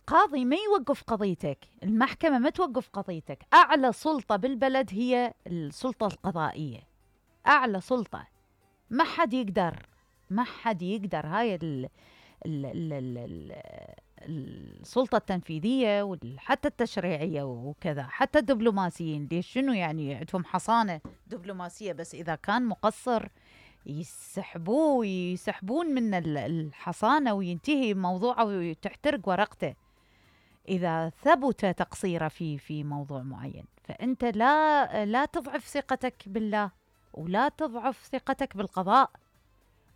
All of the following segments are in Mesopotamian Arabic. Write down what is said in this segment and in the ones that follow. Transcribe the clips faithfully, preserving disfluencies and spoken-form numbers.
القاضي ما يوقف قضيتك، المحكمة ما توقف قضيتك. أعلى سلطة بالبلد هي السلطة القضائية، أعلى سلطة. ما حد يقدر ما حد يقدر هاي ال ال ال ال ال السلطة التنفيذية وحتى التشريعية وكذا، حتى الدبلوماسيين. ليش؟ شنو يعني عندهم حصانة دبلوماسية، بس إذا كان مقصر يسحبوه يسحبون من الحصانة وينتهي موضوعه وتحترق ورقته إذا ثبت تقصيره في في موضوع معين. فأنت لا لا تضعف ثقتك بالله، ولا تضعف ثقتك بالقضاء.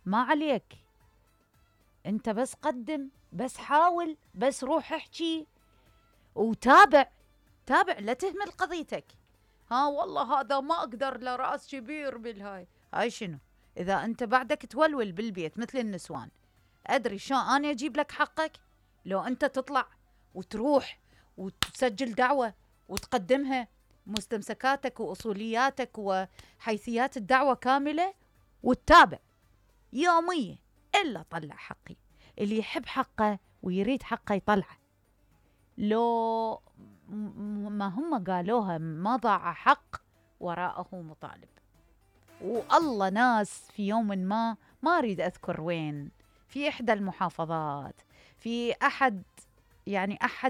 ما عليك، أنت بس قدم، بس حاول، بس روح احكي وتابع. تابع، لا تهمل قضيتك. ها والله هذا ما أقدر، له رأس كبير بالهاي. هاي شنو؟ إذا أنت بعدك تولول بالبيت مثل النسوان، أدري شو أنا أجيب لك حقك؟ لو أنت تطلع وتروح وتسجل دعوة وتقدمها مستمسكاتك وأصولياتك وحيثيات الدعوة كاملة وتتابع يوميا إلا طلع حقي. اللي يحب حقه ويريد حقه يطلعه. لو ما هم قالوها ما ضاع حق وراءه مطالب. والله ناس في يوم ما ما أريد أذكر وين، في إحدى المحافظات، في أحد يعني أحد